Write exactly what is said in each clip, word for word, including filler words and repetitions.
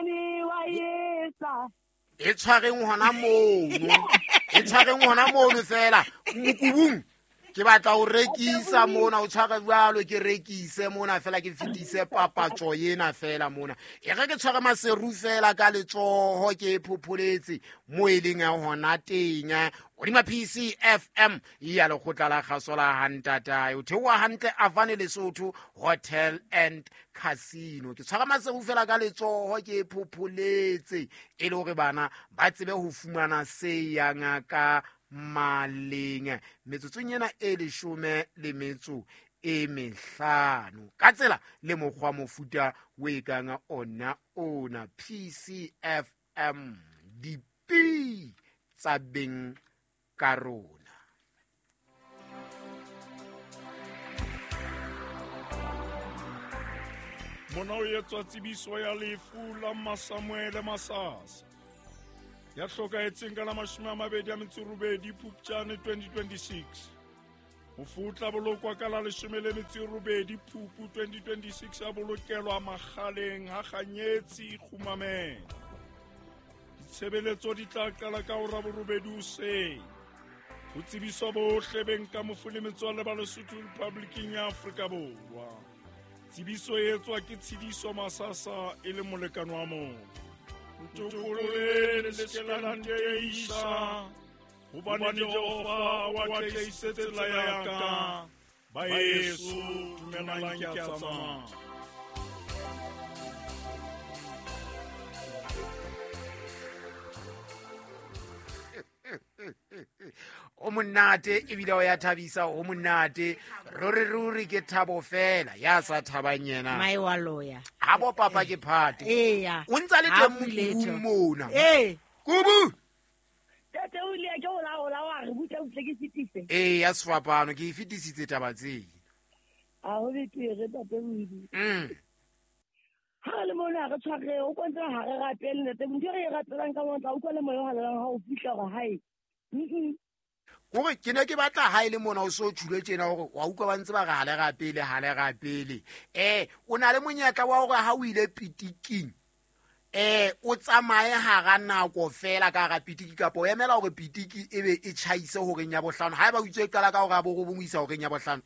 monyane wa etsa. E tshwareng hona mono. E tshwareng hona mono fela. Mokubung. Ke batla ho rekisa mona, o tshware jwalo ke rekise mona fela ke fetise papatso ena fela mona. E re ke tshware maseru fela ka letsoho ke phopholetse mo e leng hona teng. Hodima P C F M ya lekgotla la kgaso la Hantatae. O theoha hantle Avane Lesotho Hotel and Casino. Ke tshware maseru fela ka letsoho ke phopholetse e le hore bana ba tsebe ho fumana se yang ka maleng metsotsong ena e leshome le metso e mehlano ka tsela le mokgwa mofuta o e kang ona ona P C F M dipi tsa beng ka rona. Mona o etswa tsebiso ya lefu la Masamuele Masasa ya hlokahetseng ka la mashome a mabedi a metso robedi Phupjane twenty twenty-six. Mofu o tla bolokwa ka la leshome le metso robedi Phupu twenty twenty-six a bolokelwa Makgaleng ha Kganyetsi Kgumameng. Ditshebeletso di tla qala ka hora borobedi hoseng. Ho tsebiswa bohle beng ka mofu le metswalle ba Lesotho Republicing ya Afrika Borwa. Tsebiso e etswa ke Tshidiso Masasa e le molekane wa motho. Ntokolole le se ke la nteisa, hobane Jehova o atlehisitse tsela ya ka. Baeso, dumelang ke a tsamaya. O monate ebile o ya thabisa, o monate ruri ruri ke thabo fela ya sa thabang yena mai wa loya ha bo papa ke phate eya o ntsa le teng mona eh kubu tete o ile ke o la o la wa re butla butle ke fitise eh ya sefapano ke e fetisitse taba tse a ho betere tate o mm ha le mona re tshware o kontse ha re rapele ntate ntho re e rapelang ka motla o utlwa le moya o halelang ha o fihla hore hae mm Kore ke ne ke batla ha ile mona o so tshule tjena hore wa utlwa ba ntse ba re ha le rapele ha le rapele eh o na le monyetla wa hore ha o ile pitiking eh o tsamaye hara nako fela ka hara pitiki kapa o emela hore pitiki e be e tjhaise horeng ya bohlano ha eba o itse qala ka hore a bo robong o isa horeng ya bohlano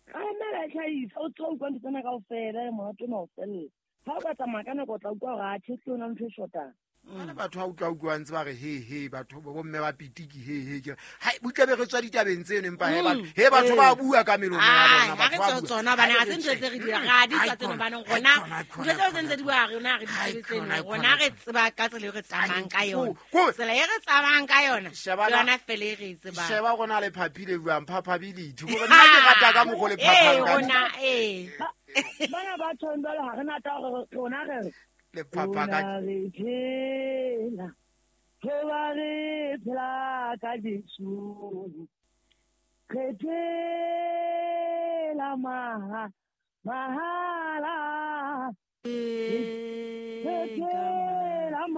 ka emela tjhaisa o tlo utlwa ntho tsena kaofela le monate ona o fella ha o ka tsamaya ka nako o tla utlwa hore a tjhe ona ntho e shotang. Bana batho ha utlwa utlwa ntse ba re he he batho bo mme ba pitiki he he ke ha butle be re tswa ditabeng tseno empa he batho he batho ba bua ka melomo ya bona batho ba tsona bana ha se ntho tse re di ra di tsa tseno bana rona ntho tseo tse ntse di bua rona re di tseno rona re tseba ka tsela e re tsamayang ka yona tsela e re tsamayang ka yona yona fele re tseba sheba rona le phaphile buang phaphability gore nna ke rata ka mokgo le phaphang ka rona eh bana ba tshwanela ha re na ta gore rona re le phapha ka re phela hoba re phela ka Jesu re phela maha mahala re phela